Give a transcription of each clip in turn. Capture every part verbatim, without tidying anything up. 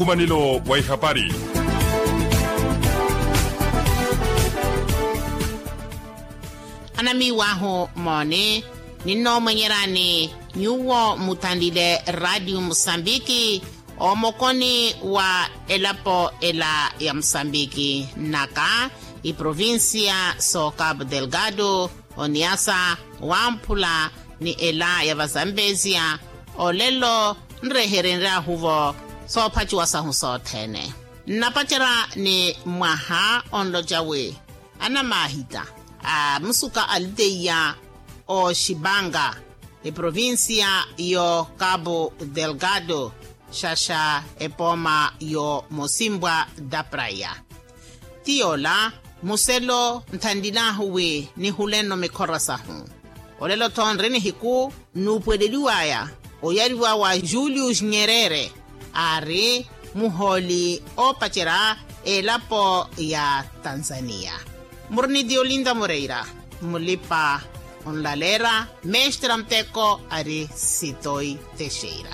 Umanilo wa ihapari. Anamiiwahu mooni, ninnoomwenyerani nyuwo muthanlile radio musambiki, omokoni wa elapo ela ya musambiki nnaka, iprovincia so cabo delgado, oniasa, wamphula, ni ela ya vazambezia. Olelo nreherenryahu-vo soophaciwa sahu sothene. Nnapacerya ni mwaha onloca wi anamahita a musuka aliteya oxipanga eprovincia yo cabo delgado, xaxa epooma yo mosimbwa da praya. Ti yoola muselo nthanlilahu wi nihulenno mikhora sahu. Olelo-tho nri nihiku nuupweleliwaya oyariwa wa julius nyerere, aari muhooli oopacerya elapo ya tanzania. Muri ni diolinda moreira, mulipa onlalera mestra muteko ari sitoi texeira.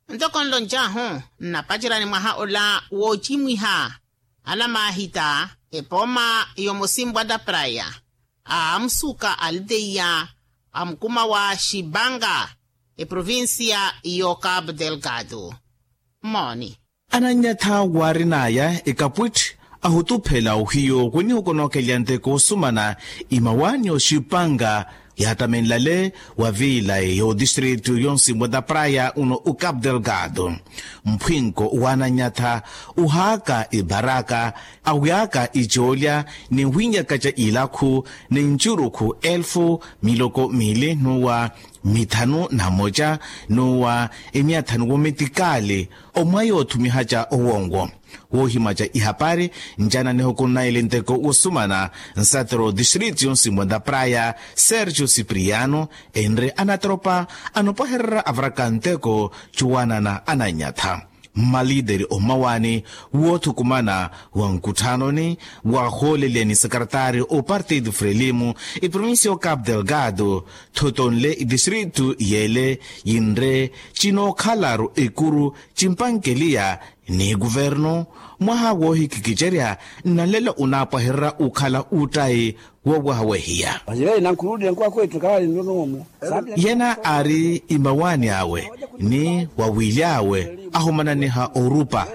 Ntoko nloncahu, nnapacerya ni mwaha ola woocimwiha anamahita epooma yomosimbwa da praya, a musuka aliteya a mukuma wa xipanga, eprovincia yo cabo delgado. Mooni. Ananyatha waarinaya ekapwitthi ahutuphela ohiyo winihukonookelya nteko osumana imawaani oxipanga, yaatamenlale wa viilayi yo distritu yonsimbwa da praya uno u cabo delgado. Mphwinko wa ananyatha uhaaka ibaraka, awiaka icoolya ni winyakaca ilakhu ni ncurukhu elfu miloko miili nuwa mithanu na moca nuwa emia thanu womitikaali omwayi oothumihaca owonwo. Woohimaca ihapari ncana nihukunnayi linteko wosumana nsatero distritu yonsimbwa da praya sergio cipriano, enre anatropa anopwahererya avaraka nteko cuwanana ananyatha. Mmalideri ommawani woothukumana wa nkutthanoni waahoolelya ni sekretaari opartido frelimu eprovincia o cabo delgado, thotonle itistritu yeele yinre cinookhalaru ekuru cimpankeliya ni kuvernu. Mwaha woohikikicerya nnalelo unaapwahererya ukhala uttayi woowaha wehiya. Yena aari imawaani awe ni wawiily'awe ahumananiha orupa,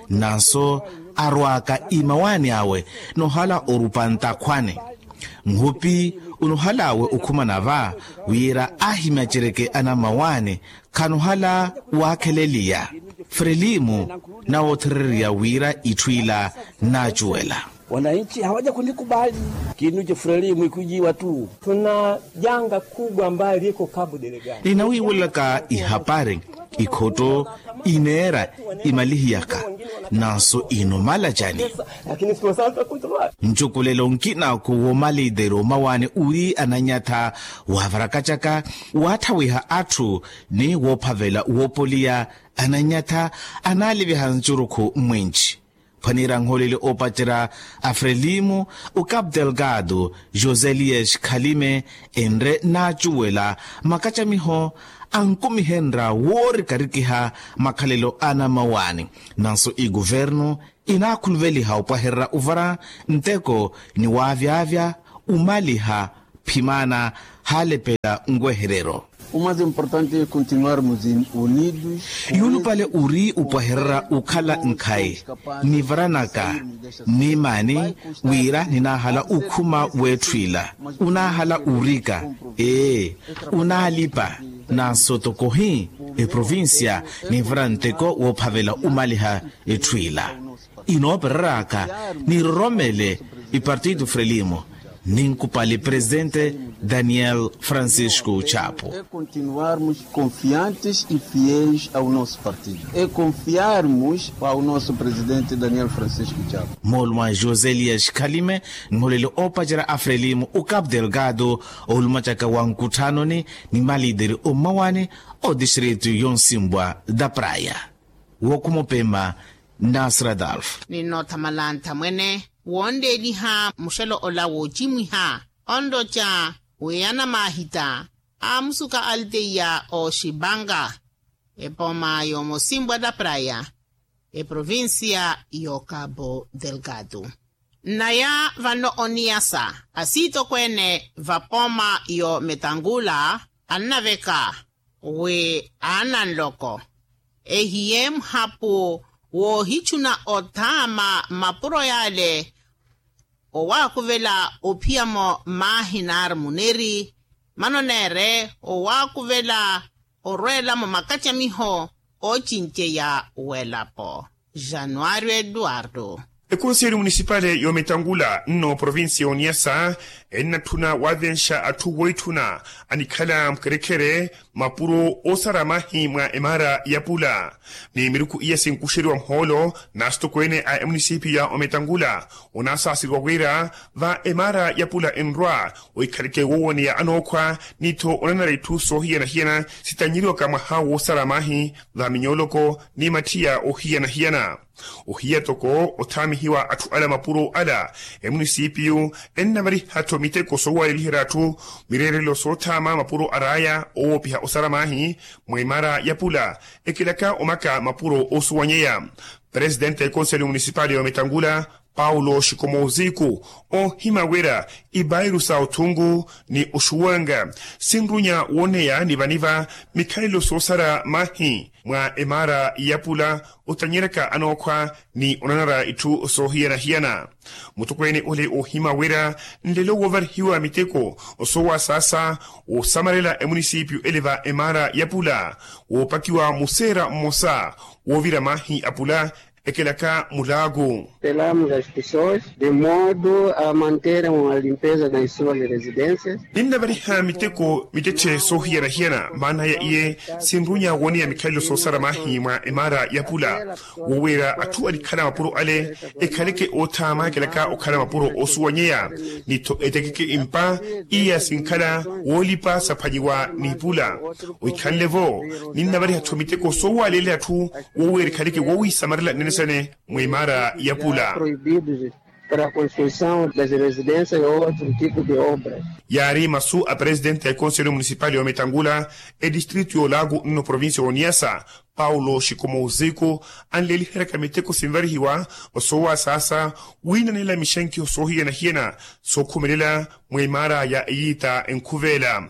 nanso arwaaka imawaani awe nohala orupa ntakhwani. Nhupi unohal'awe okhumana va wira ahimaceryeke anamawaani khanohala waakheleliya. Frelimu nawoothererya wira itthu ila naacuwela. Wananchi hawaja kunikubali. Kinuce frelimu ikujiwa tu. Tuna janga kubwa ambayo liko kabu delegani. Ninawiiwelaka ihapari ikhotto ineera imalihiyaka, nanso inomala cani? Ncukulelo nkinako woomalideri omawaani uri ananyatha waavaraka caka waatthawiha atthu ni woophavela woopoliya ananyatha anaaliviha ncurukhu mwinci. Phwaniira nholeli oopacerya a frelimu o cabo delgado josé elias khalime enre naacuwela makacamiho ankumihenrya woorikarikiha makhalelo anamawaani. Nanso ikuvernu inaakhuluveliha opwahererya ovara nteko ni waavyavya omaliha phimana haalepela nweherero. O mais importante é continuarmos unidos. Yuulupale uri opwahererya okhala nkhayi nivaranaka nimaani wira ninaahala okhuma w'etthu ila. Unaahala urika ee unaalipa nanso tokohi eprovincia ninvara nteko woophavela omaliha etthu ila. Inoopereraka niroromele ipartido frelimo ninkupali presidente daniel francisco chapo. Continuarmos confiantes e fiéis ao nosso partido e confiarmos ao nosso presidente daniel francisco chapo. Mooluma josé elias khalime nholeli oopacerya a frelimo o cabo delgado oolumacaka wa nkutthanoni ni malideri ommawani o distrito yonsimbwa da praya. Wokhumupema Nasradalf. Ninnoothamala nthamwene woonleeliha muxelo ola woocimwiha onloca wi anamahita aamusuka alteia oxipanga epooma yoomosinpwa la praya eprovincia yo cabo delgado. Nnaya vano oniyasa asiitokweene vapooma yo metangula annaveka wi aananloko ehiye muhapu woohichuna othaama mapuro yaale owaakuvela ophiyamo maahi nari muneri mano neere owaakuvela orweelamo makacamiho oocinceya w'elapo. Januario eduardo. Ekonseli munisipale y'omitangula nno provincia y'oniyasa ennatthuna waavenxa atthu woitthuna anikhala mukherekhere mapuro oosara mahi mwa emaara ya pula ni miruku iya sinkuxeriwa muhoolo n'asitokweene a emunisipiyu ya omitangula onasaaseriwa wira va emaara ya pula enrwa oikhaleke woowoneya anookhwa ni-tho onanara itthu soohiyana-hiyana sitanyeriwaka mwaha woosara mahi va minyooloko ni mathiya oohiyana-hiyana. Ohiya toko othaamihiwa atthu ala mapuro ala emunisipiyu ennavariha-tho miteko soowaleliherya atthu mireerelo soothaama mapuro araaya owoopiha osara mahi mwa emaara ya pula ekelaka omaka mapuro oosuwanyeya. Presidente ya ekonseli munisipali ya omitangula paulo xikomoziku oohima wira ipairu sa othungu ni oxuwanga sinrunya wooneya niva-niva mikhalelo soosara mahi mwa emaara ya pula otanyeryaka anookhwa ni onanara itthu soohiyana-hiyana. Mutokweene ole oohima wira nlelo woovarihiwa miteko osoowasaasa woosamarela emunisipiyu ele va emaara ya pula woopakiwa museera mmosa woovira mahi a pula ekelaka mulaaku. Pelamos as pessoas de modo a manterem a limpeza nas suas residências. Ninnavariha miteko mittetthe soohiyana-hiyana maanaya iye sinrunya wooneya mikhalelo soosara mahi mwa emaara ya pula wooweera atthu anikhala mapuro ale ekhaleke oothaama ekelaka okhala mapuro oosuwanyeya ni-tho etekeke impa iya sinkhala woolipa saphwanyiwa n'ipula. Oikhanle-vo ninnavariha-tho miteko soowalelya atthu woweerikhaleke wowiisamarela nnene sene mwa emaara ya pula. Proibidos para a construção das residências ou outro tipo de obra. Yaari masu a presidente ya ekonseli munisipali ya omitangula edistritu y'olaku nno provincia y'oniyasa paulo xikomoziku anleeliheryaka miteko sinvarihiwa osoowasaasa wiinanela mixenkiho soohiyana-hiyana sookhumelela mwa emaara ya eyiita enkhuveela.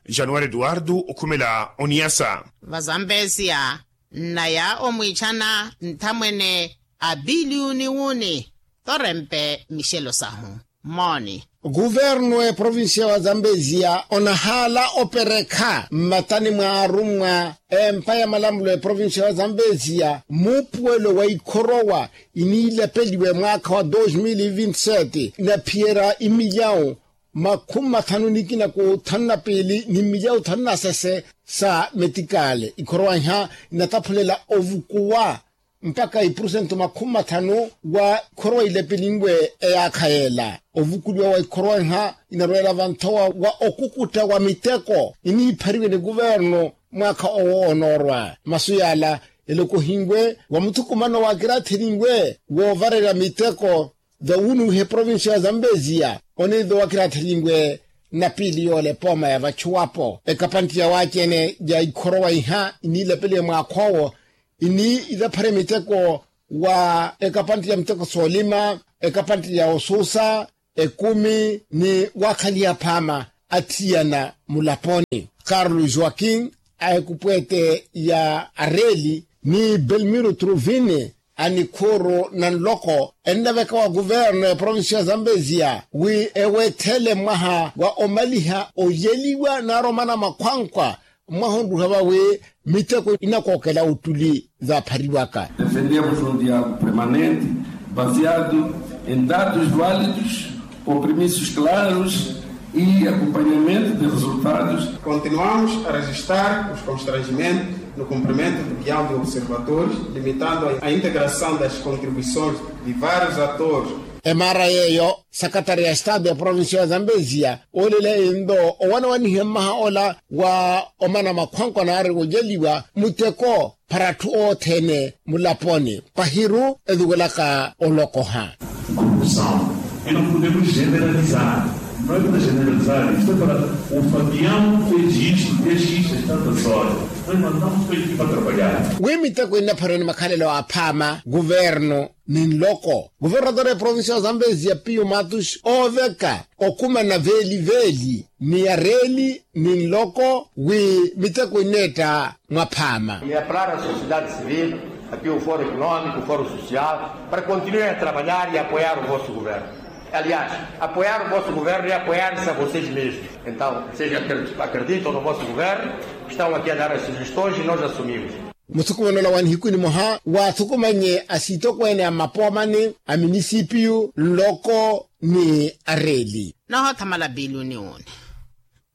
Januari eduardo okhumela oniyasa. Vazambezia nnaya omwiichana nthamwene a piliyuni wuni torempe mixelo sahu. Mooni. Kuvernu eprovincia wa zambezia onahaala operekha mmatani mwa arummwa empa ya malamulo eprovincia wa zambezia muupuwelo wa ikhorowa iniilepeliwe mwaakha wa dos mil vinti sete naphiyerya imilyawu makhumi mathanu nikina ku thanu na piili ni mmilyawu thanu na sese sa metikale ikhorowa iha inataphulela ovukuwa mpakha ipurusentu makhumi mathanu wa ikhorowa ilepelinwe eyaakha yeela. Ovukuliwa wa ikhorowa iha inarweela vanthowa wa okukutta wa miteko iniiphariwe ni kuvernu mwaakha owo onoorwa masu yaala elokohinwe wa muthukumano waakirathelinwe woovarerya miteko vawunuwiha eprovincia ya zambezia oneive wakirathelinwe na piili yoola epooma ya vachuwapo ekapantti ya waacene ya ikhorowa iha iniilepeliwe mwaakhoowo iniilaphare miteko wa ekapantti ya miteko soolima ekapantti ya osuusa ekumi ni waakhaliha phaama athiyana mulaponi. Carlo joaquin a ekupweete ya areeli ni belmiro truvini a nikhuuru na nloko ennaveka wa kuvernu ya provincia ya zambezia wi eweethele mwaha wa omaliha oyeliwa naaromanama khwankwa mwaha onruha vawi miteko inakookela ottuli vaaphariwaka. Defendemos um diálogo permanente baseado em dados válidos, compromissos claros e acompanhamento de resultados. Continuamos a registrar os constrangimentos no cumprimento do guião de observadores, limitando a integração das contribuições de vários atores Emaara yeeyo, sakatari ya estado ya provincia ya zambezia oolele ento owanawanihe mmaha ola wa omana makhwankwa naari wojeliwa muteko para atthu othene mulaponi pahiru etuwelaka olokoha. Corrupção. E não podemos generalizar. Não é para generalizar, isto é para o Fabiano fez isto, fez isto, está da sorte. Nós mandamos para a equipa trabalhar. Wi miteko innaphariwa ni makhalelo aphaama kuvernu ni nloko. Kuvernatora ya provincia ya zambezia piyu matus ooveka okumana veeli veeli ni areeli ni nloko wi miteko inneetta mwaphaama. Ni apelar a sociedade civil, aqui o foro económico, o foro social, para continuar a trabalhar e apoiar o vosso governo. Aliás, apoiar o vosso governo e apoiar-se a vocês mesmos. Então vocês acreditam no vosso governo, estão aqui a dar as sugestões e nós assumimos. Muthukumano ola wa nihiku nimoha waathukumanye asitokweene a mmapoomani a minisipiyu nloko ni areeli. Nohothamala pili uni uni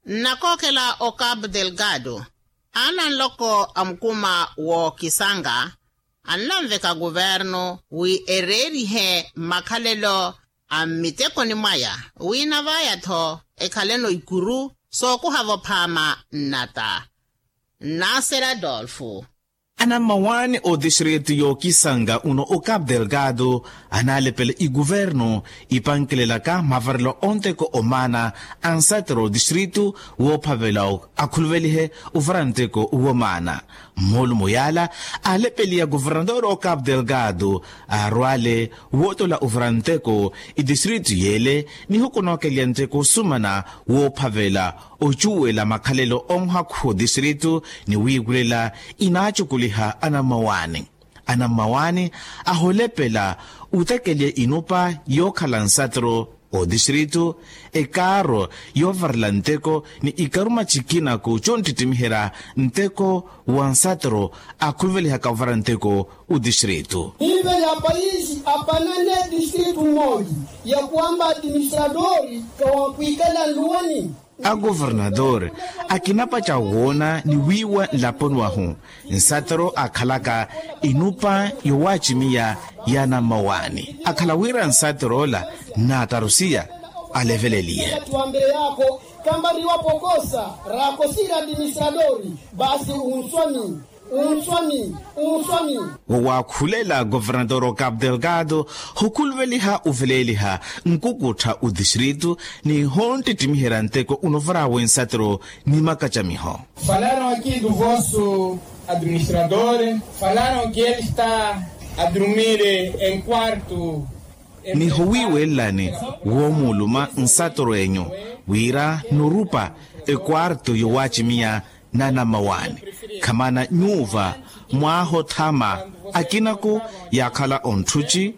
nnakookhela o capu delgado. Ananloko a mukuma wookisanga annanveka kuvernu wi ereerihe mmakhalelo a mmitekoni mwaya wi navaya-tho ekhaleno ikuru sookuhavo phaama nnata. Nasera adolfo. Anammawaani ootixiritu yookisanga uno o capu delgado anaalepela ikuvernu ipankelelaka mavarelo onteko omaana a nsatero ootixiritu woophavela akhuluvelihe ovara nteko womaana. Mmoolumo yaala aalepeliya kuvernatora o capu delgado aarwaale wootola ovara nteko itixiritu yeele nihuku nookeliya nteko osumana woophavela ocuwela makhalelo onhakhuha otixiritu ni wiikulela inaacukuliha anammawaani. Anammawaani aholepela otekeliya inupa yookhala nsatero otixiritu ekaaro yoovarela nteko ni ikaruma cikinaku conttittimiherya nteko wa nsatero akhuluvelihaka ovara nteko otixiritu. Niiveliha payiisi apananne distritu mmooli ya kuwampa adiministradori kawankwiikala nluwani. Agovernator akinapaca woona ni wiiwa nlaponi wahu nsatero akhalaka inupa yowaacimiya ya anammawaani akhala wira nsatero ola nnaatarusiya aleveleliye. Tuwambireyaako kampariwa pokosa raakosira adiministradori. Basi unswami unswami unswami. Wowaakhulela governator o capu delgado hokhuluveliha oveleeliha nkukuttha otixiritu ni honttittimiherya nteko unovaraawe nsatero ni makacamiho. Falaram aqui do vosso administrador, falaram que ele está a dormir em quarto. Ni howiiwelelani woomuuluma nsatero enyu wira norupa ekwarto yowaacimiya n'anammawaani. Khamana nyuuva mwaahothama akinaku yaakhala ontthuci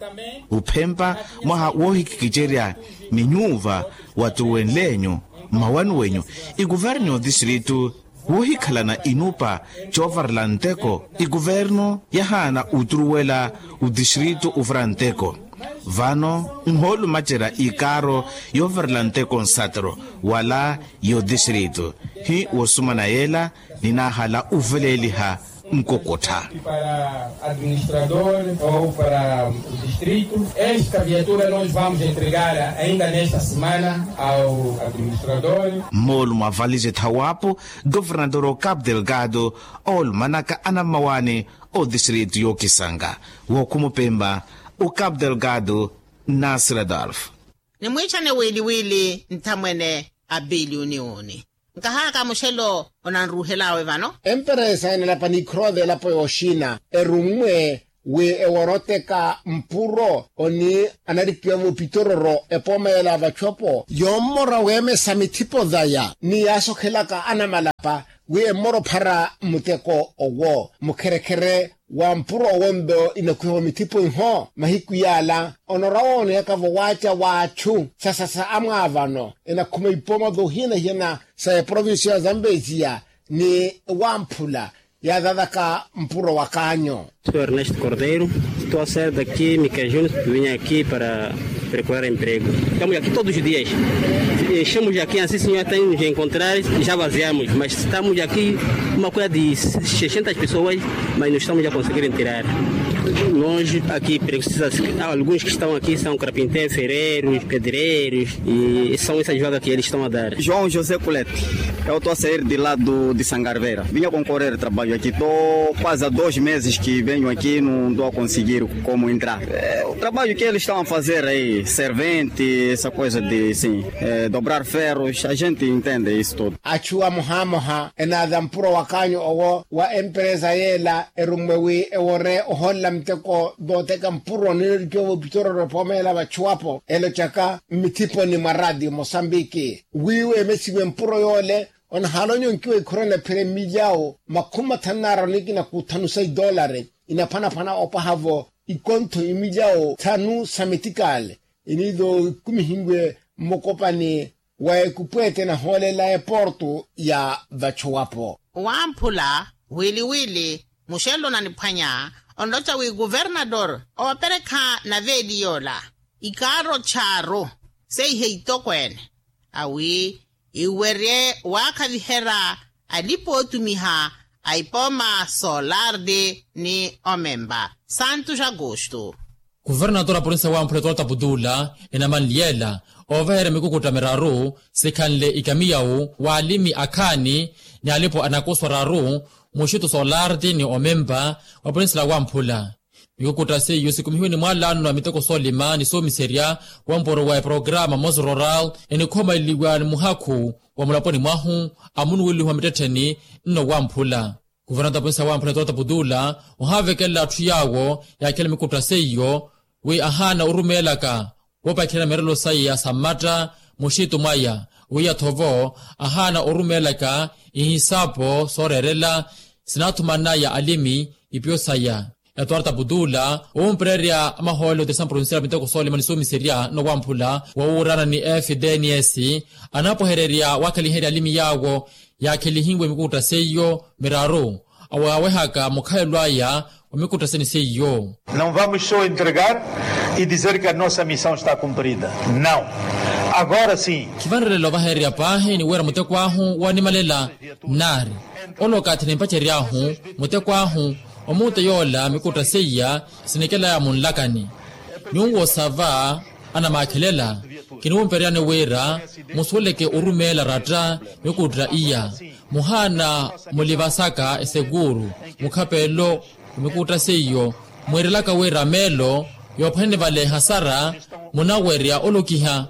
ophempa mwaha woohikikicerya ni nyuuva watuwenle-nyu mmawani wenyu ikuvernu y'otixiritu woohikhalana inupa coovarela nteko. Ikuvernu yahaana oturuwela otixiritu ovara nteko vano nhoolumacerya ikaaro yoovarela nteko nsatero wala y'otixiritu hi woosumana yeela ninaahala oveleeliha nkukuttha. Para administrador ou para o distrito esta viatura nós vamos entregar ainda nesta semana ao administrador. Mmoolumo avalixe thawaapu governator o capu delgado oolumanaka anammawaani otixiritu yookisanga wookhumupempa o capu delgado nasira adolfo. Nimwiichane wiiliwiili nthamwene a piliuni uuni. Nkahaaka muxelo onanruuhelaawe vano. Emperesa enalapa ni ikhurova elapo yooxina erummwe wi eworoteka mpuro oni anarikiwa mupitororo epooma yela vachopo yoommora weemesa mithipo vaya ni yaasokhelaka anamalapa wi emmora ophara mmuteko owo mukherekhere wa mpuro owo mpe inakhwiha omithipo iho mahiku yaala onora wooneyaka vowaaca w'achu sasasa amwaavano enakhuma ipooma toohiyana-hiyana sa eprovincia ya zambezia ni wamphula yaathataka mpuro wa kaanyo. Sou ernesto cordeiro. Estou a ser daqui micajunes, vinha aqui para procurar emprego. Estamos aqui todos os dias. Enchemos aqui assim senhor tem nos encontrar, já vaziamos mas estamos aqui uma coisa de seiscentas pessoas, mas não estamos a conseguir tirar. Nós aqui precisamos, alguns que estão aqui são carpinteiros, ferreiros, pedreiros, e são essas vagas que eles estão a dar. João José Colete, eu estou a sair de lá do, de Sangarveira. Vinha concorrer trabalho aqui, estou quase há dois meses que venho aqui, não estou a conseguir como entrar. É, o trabalho que eles estão a fazer aí, servente, essa coisa de, sim, é, dobrar ferros, a gente entende isso tudo. Achu amohamoha enaza mpuro wa kaanyu owo wa emperesa yeela erummwe wi ewore oholela muteko vooteka mpuro nilolikiwa vopitororo epoomelela vachuwapo elochaka mmithiponi mwa ratio mosambiki wi weemesiwe mpuro yoole. Onahaala onyonkiwa ikhorona phira emilyawo makhumi mathanu naara onikina kuthanu sa idolari inaphwanaphwana opwaha-vo ikontho imilyawo thanu sa mitikaale iniizo ikumihiwe mmukopani wa ekupweete nahoolela eportu ya vachuwapo. Wamphula wiliwili muxello naniphwanya onloca wi kuvernador ooperekha naveeli yoola ikaaro chaaru seihe itokweene awi iwerye waakhaviherya alipa ootumiha a ipooma solardi ni omempa santos agosto. Kuvernatora porinsa wamphula etorta putula enamanliyela ovaherya mikukutta miraru sikhanle ikamiyawu waalimi akhaani ni alipo anakuswa raru muxitu solarti ni omempa wa porinsila wamphula. Mikukutta seiyo sikumihiwe ni mwalano a miteko soolima ni soomiserya wampuro wa eprograma mos rural enikhomaleliwa ni muhakhu wa mulaponi mwahu a munuweliho wa mittettheni nno wamphula. Kuvernata ponsi ya wamphula etoota putula ohavekelela atthu yaawo yaakhela mikutta seiyo wi ahaana orumeelaka woopakhirana mirelo saya sa mmatta muxitu mwaya wi athovo ahaana orumeelaka ihisapo sooreerela sinaathumanaya alimi ipiyo saya. Etuwarta putula owumpererya amahoolo otirisa mprovincial miteko soolima ni soomiserya nowamphula wowuurana ni fdns anapwehererya waakhaliherya alimi yaawo yaakhelihiwe mikukutta seiyo miraru awaawehaka mukhalelo aya wa mikukutta seni seiyo. Não vamos só entregar e dizer que a nossa missão está cumprida. Não. Agora sim. Khivanrerela ovahererya paahi ni wira muteko ahu wanimalela nari ole okathi nimpacery'ahu muteko ahu omuute yoola mikutta seiya sinikelaya munlakani. Nyuwo sava anamaakhelela kiniwumpereryani wira musuweleke orumeela ratta mikutta iya muhaana mulivasaka esekuuru mukhapelo wa mikutta seiyo mwiirelaka wira meelo yoophwanene vale ehasara munawerya olokiha.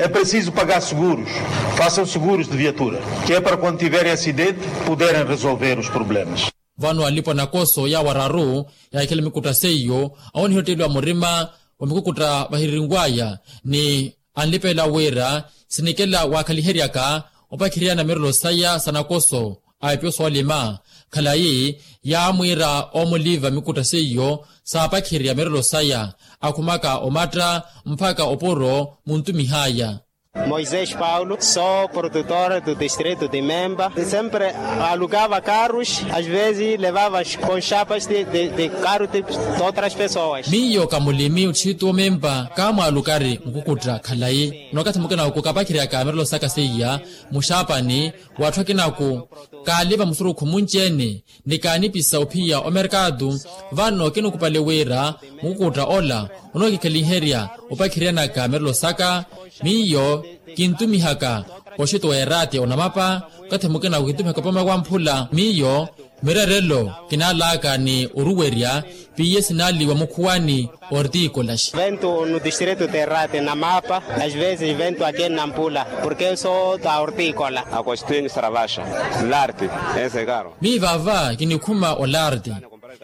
É preciso pagar seguros. Façam seguros de viatura que é para quando tiverem acidente poderem resolver os problemas. Vano alipo anakoso yaawo araru yaahikhela mikutta seiyo awoniha otteliwa murima wa mikukutta vahirinwaya ni anlipeela wira sinikela waakhaliheryaka opakhiriyana mirelo saya sa nakoso a epyo soolima khalayi yaamwiira omuliva mikutta seiyo saapakhirya mirelo saya akhumaka omatta mpakha opuro muntumihaya. Moisés Paulo, sou produtor do distrito de Memba. Sempre alugava carros, às vezes levava com chapas de, de, de carro de, de outras pessoas. Miyo ka mulimi otthitu omempa kaamwaalukari mukukutta khalayi. Nno okathi mukina oku kapakhiriyaka mirelo saka seiya muxaapani w'atthu akinaku kaaliva musurukhu munci-ene ni kaanipisa ophiya omerkatu. Vano kinikupale wira mukukutta ola onookikhaliherya opakhiryanaka mirelo saka miyo kintumihaka oxito wa erati onamapa okathi mukina okintumihaka opome wamphula miyo mirerelo kinaalaka ni oruwerya piye sinaaliwa mukhuwani ortikolas. Vento no distrito de rate namapa às vezes vento aqui nampula porque eu sou da ortikola. Agostinho saravaxa larte. Ese karo. Mii vava kinikhuma olarte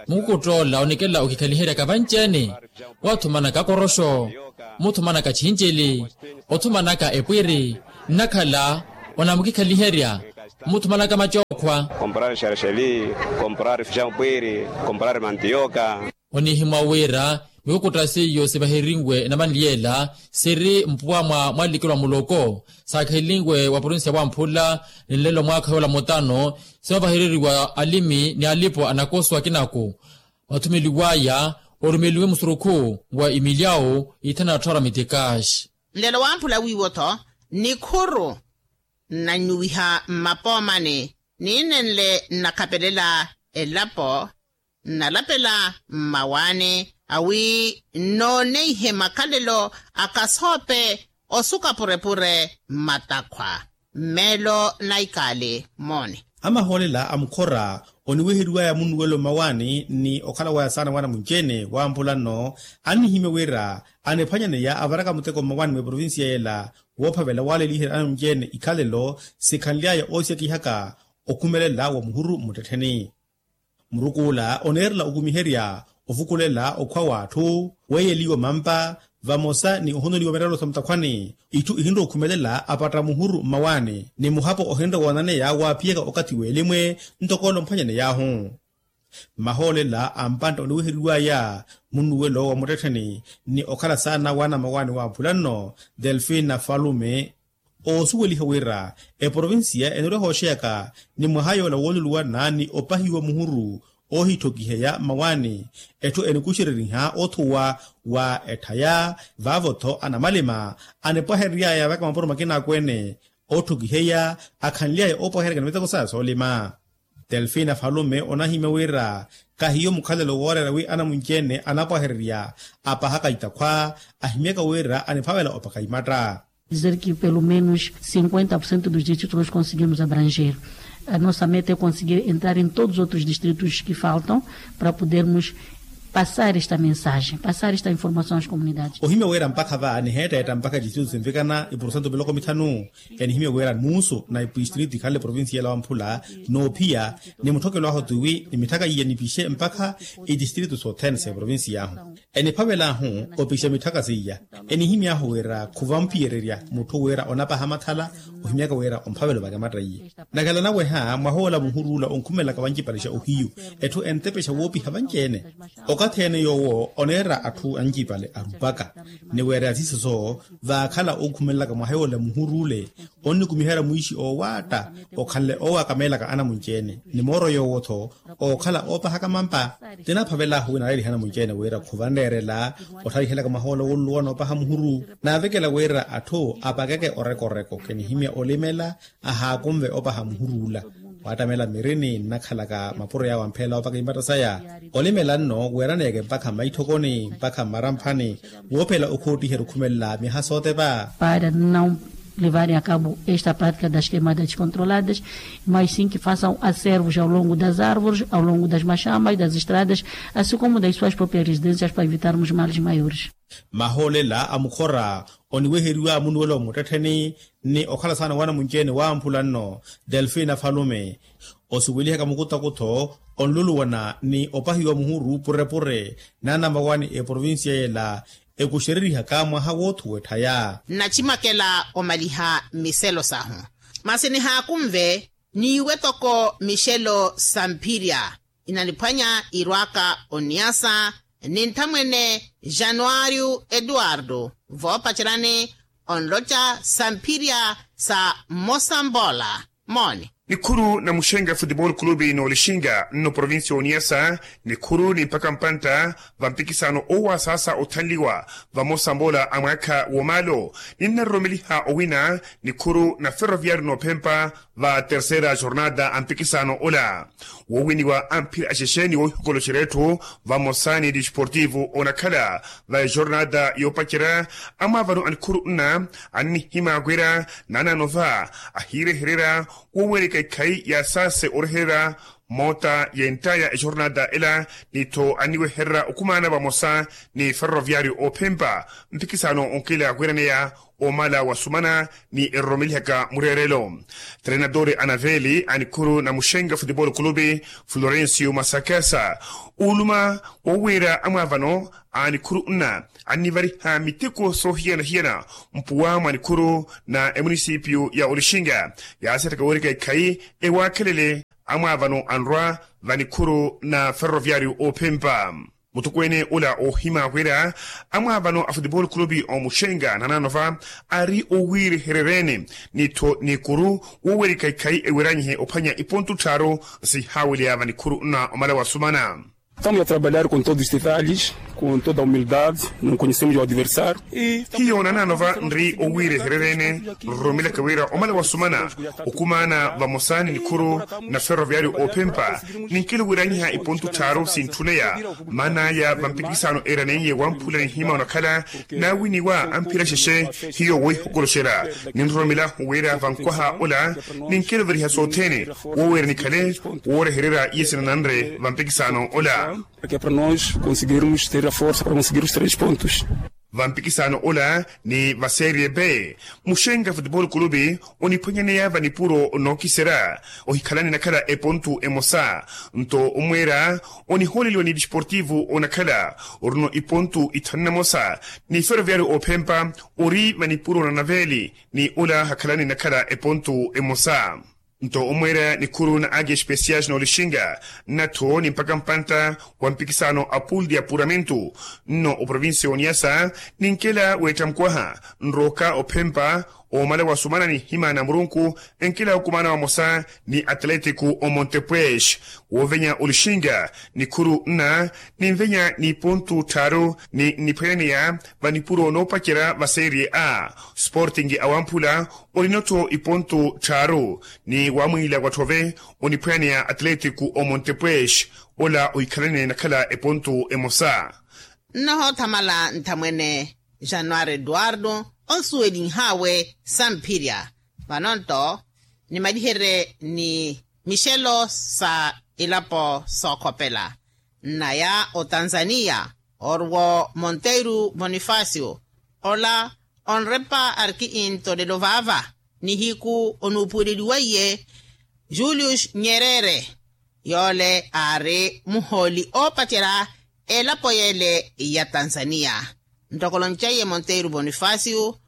mukukutta ola onikela okikhaliheryaka vanci-ene wathumanaka akoroxo muthumanaka chincili othumanaka epwiri nnakhala onamukikhaliherya muthumanaka macookhwa. Komporari xerexeli komporari fijampwiri komporari mantioka. Onihimwa wira mikukutta seiyo sivaherinwe enamanliyela siri mpuwa mwa mwalikelwa muloko saakhelinwe wa provincia wamphula ni nlelo mwaakha yoola mutano sinovahereriwa alimi ni alipo anakoso akinaku mathumeliwaya orumeliwe musurukhu wa imilyawu ithanu atthu ara mitikaxi. Nlelo wamphula wiiwo-tho nikhuru nnannyuwiha mmapoomani niinenle nnakhapelela elapo nnalapela mmawaani awi nnooneihe makhalelo a kasoope osuka purepure mmatakhwa mmeelo na ikaali mooni. Amahoolela a mukhora oniweheriwaya munnuwelo mmawaani ni okhala waya saana wana munci-ene wampula nno annihimya wira aniphwanyaneya avaraka muteko mmawaani mwa eprovincia yela woophavela waaleliherya ana munci-ene ikhalelo sikhanly'aya oosiyakihaka okhumelela wa muhuru mmuttettheni. Murukuula oneerela okumiherya ovukulela okhwa w'atthu weeyeliwa mampa vamosa ni ohonoliwa mirelo sa mutakhwani itthu ihinrowa okhumelela apatta muhuru mmawaani ni muhapo ohinre woonaneya waaphiyaka okathi w'elimwe ntoko ole omphwanyaney'ahu. Mahoolela a mpantta oniweheriwaya munnuwelo wa muttettheni ni okhala saana wana mmawaani wampula nno delfina falume oosuweliha wira eprovincia enirwa ehooxeyaka ni mwaha yoola wooluluwana ni opahiwa muhuru oohithokiheya mmawaani etthu enikuxereriha othuwa wa etthaya vaavo-tho anamalima anipwaherery'aya vaka mapuro makina akweene otthokiheya akhanly'aya oopwaheryaka ni miteko saya soolima. Delfina falume onahimya wira kahiyo mukhalelo wooreera wi anamunci-ene anapwahererya apahaka itakhwa ahimyaka wira aniphavela opakha imatta. Dizer que pelo menos cinquenta por cento dos distritos nós conseguimos abranger. A nossa meta é conseguir entrar em todos os outros distritos que faltam para podermos passar esta mensagem, passar esta informação às comunidades. Ohimya wira mpakha va niheetteetta mpakha distritu sinvikana ipurosento miloko mithanu. Enihimya wira muusu na ipistritu ikhanle provincia ela wamphula noophiya ni mutthokelo ahu tiwi ni mitthaka iya nipixe mpakha itistritu sothene sa eprovincia ahu. Eniphavel'ahu opixa mitthaka seiya enihimy'ahu wira khuvamphiyererya mutthu wira onapaha mathala ohimyaka wira omphavela ovaka matta iye. Nakhala naweha mwahoola muhuruula onkhumelelaka wancipalexa ohiyu etthu entepexa woopiha vanci-ene. Okathi ene yoowo oneera atthu ancipale arupaka ni wira yasisoso vaakhala onkhumelelaka mwaha yoola muhuruule onnikumiherya mwiixi oowaatta okhanle oowakameelaka anamunci-ene ni mooro yoowo-tho ookhala oopahaka mampa. Tinaphavel'ahu wi naleeliha anamunci-ene wira khuvanreerela otthalihelaka mwaha ola wooluluwana opaha muhuru naavekela wira atthu apakeke orekoreko kinihimya olimela ahaakunve opaha muhuruula. Waattamela mirini nnakhalaka mapuro yaawo ampheela opaka imatta saya olimela nno weeraneeke mpakha mmaitthokoni mpakha mmaramphani woophela okhoottiherya okhumelela myaha sootepa. Para não levarem a cabo esta prática das queimadas descontroladas, mas sim que façam acervos ao longo das árvores, ao longo das machamas, das estradas, assim como das suas próprias residências para evitarmos males maiores. Mahoolela a mukhora oniweheriwa munnuwelo muttettheni ni okhala saana wana munci-ene waamphula nno delfina falume osuwelihaka mukutaku-tho onluluwana ni opahiwa muhuru purepure n'anamawani eprovincia yela ekuxererihaka mwaha woothuwa etthaya. Nnacimakela omaliha mmiselo sahu masi nihaakunve niiwe toko mixelo sa mphirya inaniphwanya irwaka oniyasa ni nthamwene januario eduardo voopacerani onloca sa mphirya sa mmosa mboola. Mooni. Nikhuru na muxenga futebol kulubi n'olixinga nno provincia oniyasa nikhuru ni mpakha mpantta va mpikisano owasaasa othanliwa vamosa mboola a mwaakha woomaalo ninnariromeliha owina nikhuru na ferroviario noophempa va terceira jornada a mpikisano ola woowiniwa amphira axexe ni woohikoloxerya etthu vamosa ni desportivo onakhala va ejornada yoopacerya amwaavano a nikhuru nna annihimya wira naanaano va ahiirehererya wooweleka ikhayi ya saase orehererya moota ya entaya ejornada ela ni-tho anniwehererya okhumaana vamosa ni ferroviario oophempa mpikisano onkila wiraneya omala wasumana ni eroromelihaka mureerelo trenadori anaveli a nikhuru na muxenga futebol kulubi florencio masakasa uuluma wowiira amwaavano a nikhuru nna annivariha miteko soohiyana-hiyana mpuwa mwa nikhuru na emunisipio ya olixinga yaasattaka werika ikhayi ewaakhelele amwaavano anrwa va nikhuru na ferroviario oophempa mutukweene ula oohima wira amwaavano a futebol kulubi omuxenga nananova ari owiirehereryeene ni-tho nikuru wowerika ikhayi ewiranyihe ophwanya ipontu tthaaru sihaaweleya va nikhuru nna omala wasumana Estamos a trabalhar com todos os detalhes, com toda a humildade, não conhecemos o adversário. Hiyo nanano va nri owiirehererene, nromelaka wira omala wasumana okumaana vamosa ni nikhuru na ferroviário ophempa, ninkelo wiranyiha ipontu tthaaru sintthunneya. Maana aya vampikisano eraneiye wamphula nihima onakhala nawiniwa amphira xexe. Hiyo woihokoloxela ninroromela wira vankwaha ola ninkelo veriha sothene, woowira nikhale woorehererya iye sinananre vampikisano ola. Para que para nós conseguirmos ter a força para conseguir os três pontos. Vampikisano ola ni va serie b, muxenga futebol clube oniphwanyaneya vanipuro nookiserya ohikhalani nakhala epontu emosa. Nto omweera onihooleliwa ni desportivo onakhala oruno ipontu ithanu na mosa, ni ferroviário ophempa ori vanipuro na naveli, ni ola hakhalani nakhala epontu emosa. Nto omweera nikhuru na agi especiais n'olixinga, nnattho ni mpakha mpantta wa mpikisano a pool de apuramento nno oprovincia y'oniasa, ninkela weetta mukwaha nrooka ophempa, omala wasumana nihima na murunku enkela okumaana vamosa ni atlético o montepues. Woovenya olixinga nikhuru nna, ninvenya n'ipontu tthaaru ni nniphwayaneya vanipuro noopacerya va serie a. Sporting awamphula oninottho ipontu tthaaru, ni wamwiila watthove oniphwayaneya atlético o montepues, ola ohikhalane nakhala epontu emosa. Nnohoothamala nthamwene januari eduardo onsuwelinhaawe samphirya. Vano nto nimaliherye ni mixelo sa ilapo sookhopela nnaya otanzaniya, orwo monteiro bonifacio ola onrepa arki intolelo vaava nihiku onuupuweleliweiye julius nyerere, yoole aari muhooli oopacerya elapo yeele ya tanzaniya. Ntoko oloncaiye monteiro bonifacio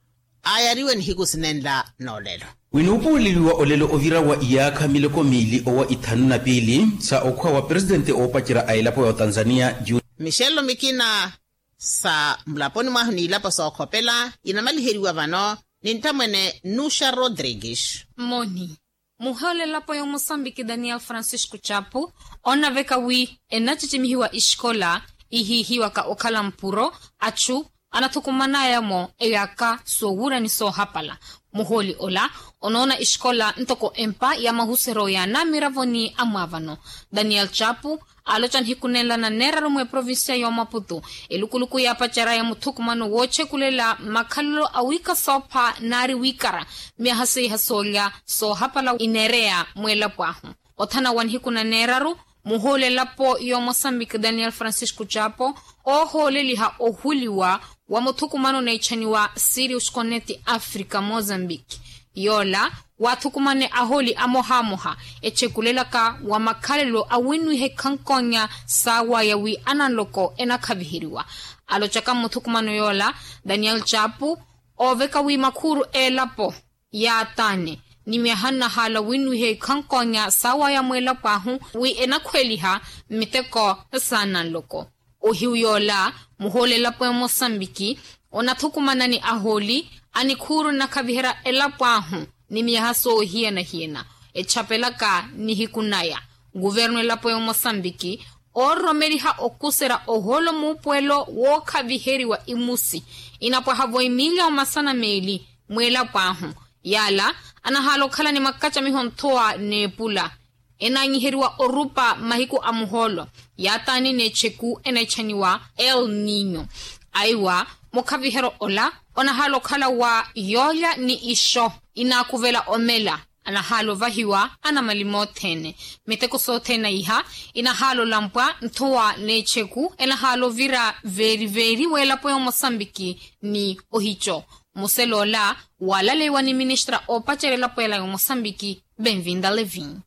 aayariwe nihiku sinenla n'olelo. Winuupuweleliwa olelo ovira wa iyaakha miloko miili owa ithanu na piili sa okhwa wa presidente oopacerya a elapo ya otanzaniya. Mixelo mikina sa mulaponi mwahu n'ilapo sookhopela inamaliheriwa vano ni nttamwene nuxa rodrigues. Mmoni muhoolelapo y'omosambiki daniel francisco chapu onaveka wi enacicimihiwa ixikola ihiihiwaka okhala mpuro achu anathukumanaya-mo eyaakha soowuura ni soohapala. Muhooli ola onoona ixikola ntoko empa ya mahuseryo ya naamiravoni amwaavano. Daniel chapu aaloca nihiku nenla na neeraru mw'eprovincia y'omaputu elukuluku yaapacerya ya muthukumano woochekulela makhalelo awiika soopha naari wiikara myaha seiha soolya soohapala ineereya mw'elapo ahu. Othana wa nihiku na neeraru muhooli elapo y'omosambiki daniel francisco chapo oohooleliha ohuliwa wa muthukumano oneechaniwa sirius connet africa mozambique. Yoola waathukumane ahooli amohaamoha echekulelaka wa makhalelo awinwiha ikhankoonya saawaya wi ananloko enakhaviheriwa. Alocaka mmuthukumano yoola daniel chapu ooveka wi makhuuru elapo yaataane ni myaha nnahaala winwiha ikhankoonya saawaya mw'elapo ahu wi enakhweeliha mmiteko saananloko. Ohiyu yoola muhooli elapo ya mosambiki onathukumana ni ahooli a nikhuuru nnakhaviherya elapo ahu ni myaha soohiyana-hiyana echapelaka nihiku naya. Kuvernu elapo ya mosambiki oororomeliha okuserya ohoolo muupuwelo wookhaviheriwa imusi inapwaha-vo emiliyo masana meeli mw'elapo ahu. Yaala anahaala okhala ni makacamiho nthowa n'epula enaanyiheriwa orupa mahiku a muhoolo yaataani n'echeku eneechaniwa el ninyo. Aiwa mukhaviheryo ola onahaala okhala wa yoolya ni ixo inaakuvela omela anahaala ovahiwa anamalima othene. Miteko sothene iha inahaala olampwa nthowa n'echeku enahaala ovira veeri-veeri w'elapo ya omosambiki ni ohico. Muselo ola waalaleiwa ni ministra oopacerya elapo ela ya omosambiki benvinda levin.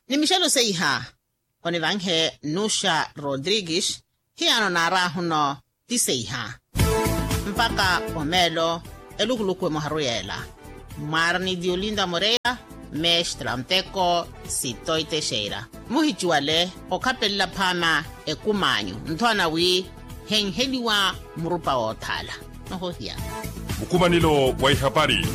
Ni mixelo seiha onivanhe nuxa rodrigues hiyano naaraahuno ti seiha mpakha omeelo elukuluku emoharu yeela. Mwaarani diolinda moreira mestra nteko sitoitexeira muhicuwale okhapelela phaama ekumaanyu nthowana wi henheliwa murupa woothaala. Nohohiya mukumanelo wa ihapari.